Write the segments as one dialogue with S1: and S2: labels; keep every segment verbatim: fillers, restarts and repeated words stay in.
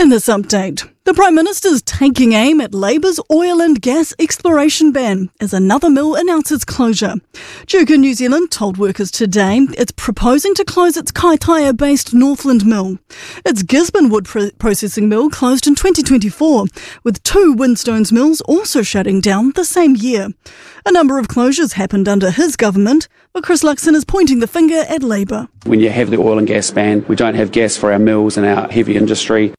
S1: In this update, the Prime Minister's taking aim at Labour's oil and gas exploration ban as another mill announces closure. Duke in New Zealand told workers today it's proposing to close its Kaitaia-based Northland mill. Its Gisborne wood pro- processing mill closed in twenty twenty-four, with two Winstones mills also shutting down the same year. A number of closures happened under his government, but Chris Luxon is pointing the finger at Labour.
S2: When you have the oil and gas ban, we don't have gas for our mills and our heavy industry.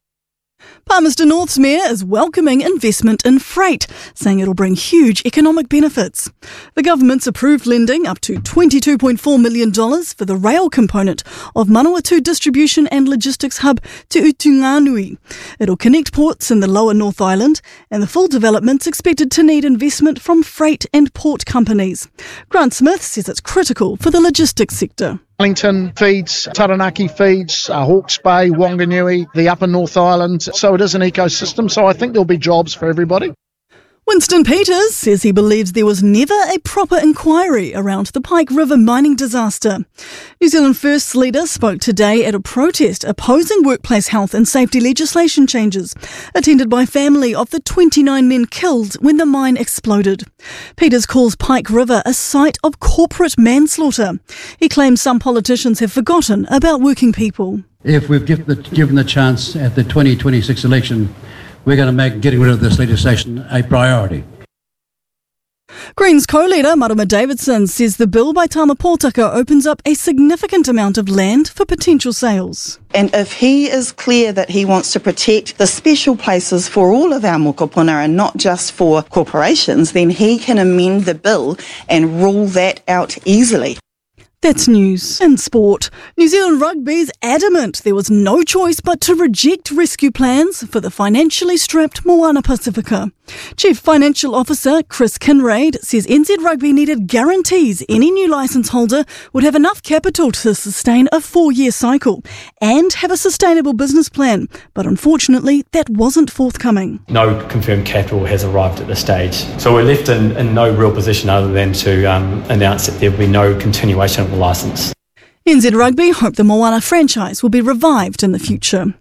S1: Palmerston North's mayor is welcoming investment in freight, saying it'll bring huge economic benefits. The government's approved lending up to twenty-two point four million dollars for the rail component of Manawatu Distribution and Logistics Hub to Utunganui. It'll connect ports in the lower North Island, and the full development's expected to need investment from freight and port companies. Grant Smith says it's critical for the logistics sector.
S3: Wellington feeds, Taranaki feeds, uh, Hawke's Bay, Whanganui, the Upper North Island. So it is an ecosystem. So I think there'll be jobs for everybody.
S1: Winston Peters says he believes there was never a proper inquiry around the Pike River mining disaster. New Zealand First's leader spoke today at a protest opposing workplace health and safety legislation changes, attended by family of the twenty-nine men killed when the mine exploded. Peters calls Pike River a site of corporate manslaughter. He claims some politicians have forgotten about working people.
S4: If we've given the, given the chance at the twenty twenty-six election, we're going to make getting rid of this legislation a priority.
S1: Greens co-leader Marama Davidson says the bill by Tama Pōtaka opens up a significant amount of land for potential sales.
S5: And if he is clear that he wants to protect the special places for all of our mokopuna and not just for corporations, then he can amend the bill and rule that out easily.
S1: That's news. In sport, New Zealand Rugby's adamant there was no choice but to reject rescue plans for the financially strapped Moana Pasifika. Chief Financial Officer Chris Kinraid says N Z Rugby needed guarantees any new licence holder would have enough capital to sustain a four-year cycle and have a sustainable business plan. But unfortunately, that wasn't forthcoming.
S6: No confirmed capital has arrived at this stage. So we're left in, in no real position other than to um, announce that there will be no continuation of the licence.
S1: N Z Rugby hope the Moana franchise will be revived in the future.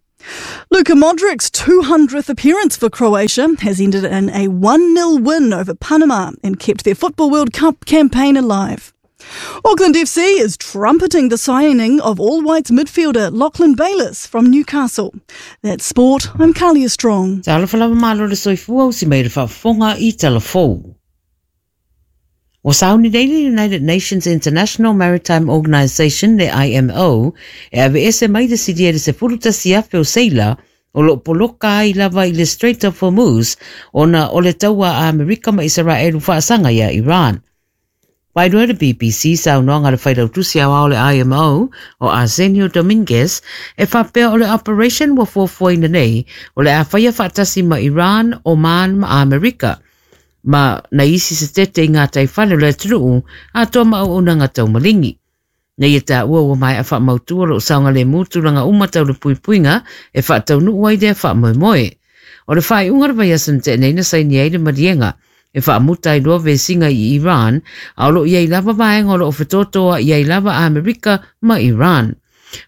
S1: Luka Modric's two hundredth appearance for Croatia has ended in a one nil win over Panama and kept their Football World Cup campaign alive. Auckland F C is trumpeting the signing of All Whites midfielder Lachlan Bayliss from Newcastle. That's sport. I'm Kalia Strong.
S7: O sauni nei United Nations International Maritime Organization, le I M O, e ave ese mai de sidia de se furuta siafe o seila, o lo poloka ai lava i le Strait of Hormuz, ona o le taua a Amerika ma Israelu whaasanga ia Iran. Wairoa le B B C sa unoanga le whairautusi au le I M O o Arsenio Dominguez e whapea o le operation wa fuafuaina nei o le awhaia whaatasi ma Iran, Oman ma Amerika. Ma na isi se tete i ngā taiwhale le truu a toa ma o unanga tau malingi. Nei e tā ua ua mai a whaamautua lo saunga le mūturanga umatau le puipuinga e whaatau nuu ai dea whaamoemoe. O le whai unga vai asan te nei na saini ai le marienga e whaamuta i loa vesinga i Iran a olo i ai lava vaenga o lo o whetotoa i ai lava Amerika ma Iran.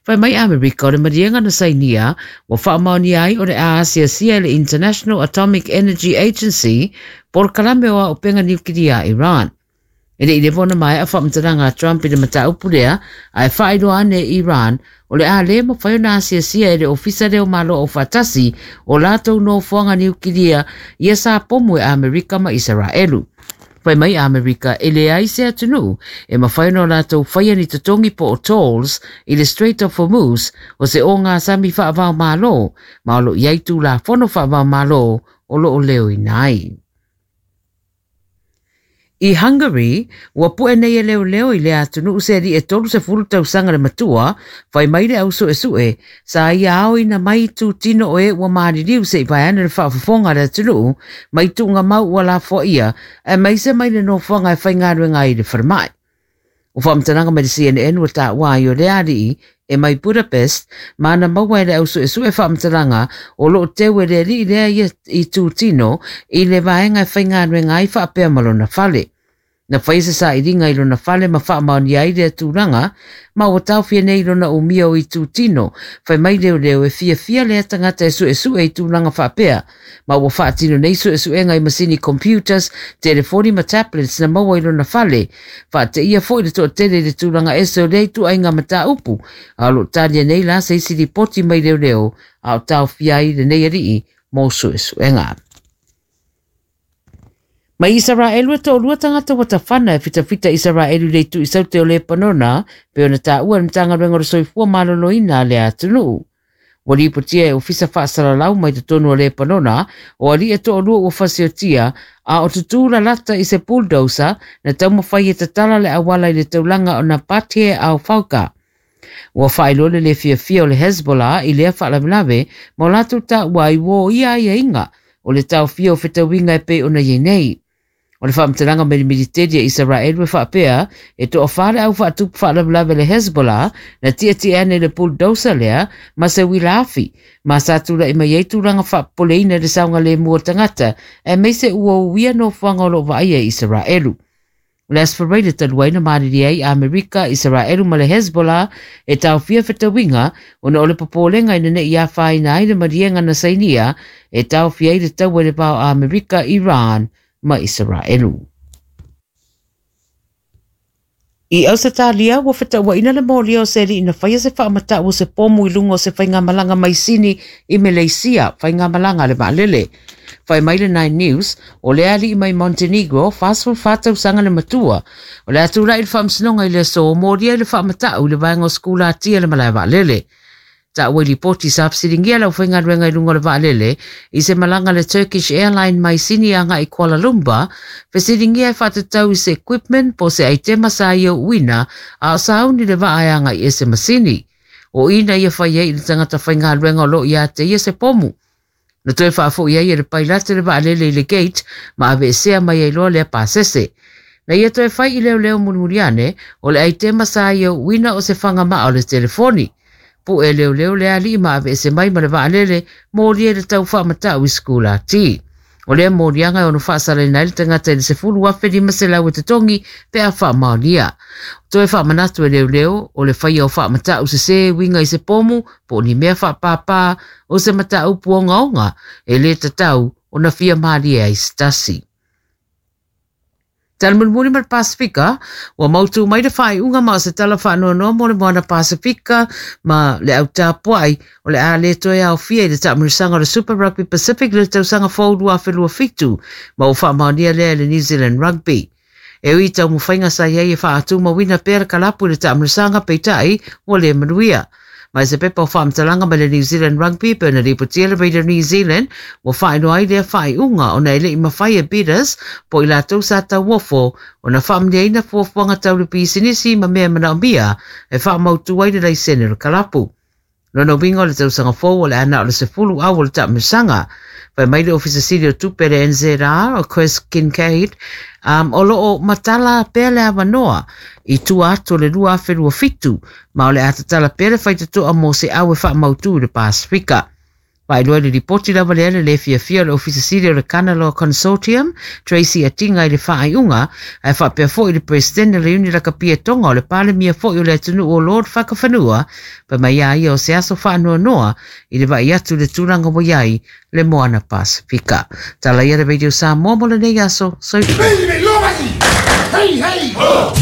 S7: Whai mai Amerika o le marienga na sainia wa whaamaoni ai o le Aasia sia le International Atomic Energy Agency por kalame oa o penga niukiria Iran. E le ilevona mai a whaamtaranga Trump i le mataupurea a e whaeroa ane Iran o le a le mawhai o na Asia sia e le ofisa leo malo o whatasi o lātou no fuanga niukiria ia sa pomu e Amerika ma Israelu. Whai mai Amerika e le ai se atunu e mawhai no lātou whaia ni totongi po o tolls i le Strait of Hormuz o se o ngā sami whaavao malo ma o lo iaitu la fono whaavao malo o lo o leo i nai. I Hungary, ua pue nei e leo leo i le atunu se ri e tolu se fulu tausanga le matua, whai mai le auso e sue, sa ia ao ina mai tū tino o e ua maaririu se i vaiana le whaafafonga le atunu, mai tūnga mau ua la fo ia, e mai se mai le nofoanga e whai ngāruenga i le wharamai. O whaamtananga mai le C N N ua tā wā i o le arii, e mai Budapest, mana maua e le auso e sue whaamtananga o lo tewe le ri lea i, i tū tino i le vaenga e whai ngāruenga i whaapea malona whale. Na whai se saʻiliga i lona fale ma faamaonia ai lea tulaga ma ua taofia nei lona umia o itutino. Fai mai leoleo e fiafia lea tagata e suʻesuʻe i tulaga faapea ma ua faatino nei suʻesuʻega i masini computers, telefoni ma tablets na maua i lona fale. Faateia foʻi le toʻatele i le tulaga ese o lea ituaiga mataupu a o loo talia nei la se isi lipoti mai leoleo a o taofia ai lenei alii mo suʻesuʻega. Mai Isaraelu e toʻalua tagata ua tafana e fitafita Isaraelu i le itu i saute o Lepanona pe ona taua le Matagaluega o le Soifua Maloloina a le atunuu. Ua lipotia e ofisa faasalalau mai totonu o Lepanona o alii e toʻalua ua fasiotia a o tutū lalata i se bulldozer na taumafai e tatala le auala i le taulaga o Nabatie Al Fauka. Ua faailoa le le fiafia o le Hezbollah i lea faalavelave ma o latou taua ai ua o ia aiaiga o le taofia o fetauiga e pei ona iai nei. O le faamatalaga mai le militeli a Isaraelu e faapea e toʻafā le au faatupu faalavelave le Hezbollah na tiatia ane le bulldozer lea ma se uila afi ma sa tulaʻi mai ai tulaga faapopoleina i le saogalemu o tagata aemaise ua uia nofoaga o loo vaaia i Isaraelu. O le Aso Faraile talu ai na malilie ai Amerika, Isaraelu ma le Hezbollah e taofia fetauiga ona o le popolega ina neʻi afaina ai le maliega na sainia e taofia ai le taua i le va o Amerika, Iran ma Isaraelu. I Ausetalia ua fetauaʻina le molia o se aliʻi na faia se faamataʻu o se pomu i luga o se faigamalaga mai Sini i Meleisia, faigamalaga a le vaalele. Fai mai le Nine News, o le aliʻi mai Montenegro, fasefulufa tausaga le matua. O le a tulaʻi i le faamasinoga i le aso molia i le faamataʻu i le vaega o sekulatia le malae vaalele. Taua i lipoti sa fesiligia le aufaigaluega i luga o le vaalele i se malaga le Turkish Airline mai Sini agaʻi Kuala Lumpur, fesiligia e faatatau i se equipment po o se aitema sa ia uina a o sauni le vaa e agaʻi ese ma Sini. O ina ia fai ai i le tagata faigaluega o loo ia te ia se pomu. Na toe faafoʻi ai e le pailate le vaalele i le gate ma aveesea mai ai loa lea pasese. Na ia toe fai i leoleo mulimuli ane o le aitema sa ia uina o se fagamaa o le telefoni. Puʻe leoleo le alii ma aveese mai ma le vaalele molia i le tau faamataʻu i sekulati. O lea moliaga e ono faasalaina ai le tagata i le sefulu afe lima selau e totogi pe a faamaonia. Toe faamanatu e leoleo o le faia o faamataʻu sesē uiga i se pomu po o ni mea faapāpā o se mataupu ogaoga e lē tatau ona fia malie ai se tasi. Tala mulimuli ma le Pasifika, ua mautū mai le faaiuga ma o se tala faanoanoa mo le Moana Pasifika ma le autapuaʻi o le a lē toe aofia i le taamilosaga o le Super Rugby Pacific le tausaga fou lua afe lua fitu ma ua faamaonia lea e le New Zealand Rugby. E ui taumafaiga sa iai e faatumauina pea le kalapu i le taamilosaga peitaʻi ua lē manuia. Mai se pepa o faamatalaga mai le New Zealand Rugby pe ona lipotia le Radio New Zealand ua faailoa ai lea faaiuga ona e leʻi mafai e bidders po o i latou sa tauofo ona faamanuiaina fuafuaga tau le pisinisi ma mea manaomia e faamautu ai le laisene o le kalapu. Lona uiga o le tausaga fou o le ana o le sefulu au o le taamilosaga. Fai mai le Ofisa Sili o Tupe le N Z R o Chris Kincaid, um, o loo matala pea le avanoa i tua atu o le lua afe lua fitu ma o le a tatala pea le faitatoa mo se au e faamautu i le Pasifika. Faailoa i le lipoti lava lea le le fiafia o le Ofisa Sili o le Kanaloa Consortium, Tracy Atinga i le faaiuga, ae faapea foʻi le President le Uni Lakapia Tonga o le Palemia foʻi o le atunuu o Lord Fakafanua, pa mai ia ia o se aso faanoanoa i le vaai atu le tulaga ua iai le Moana Pasifika. Tala ia le Radio Samoa mo lenei aso. Soifua.
S8: Hey, hey, ho!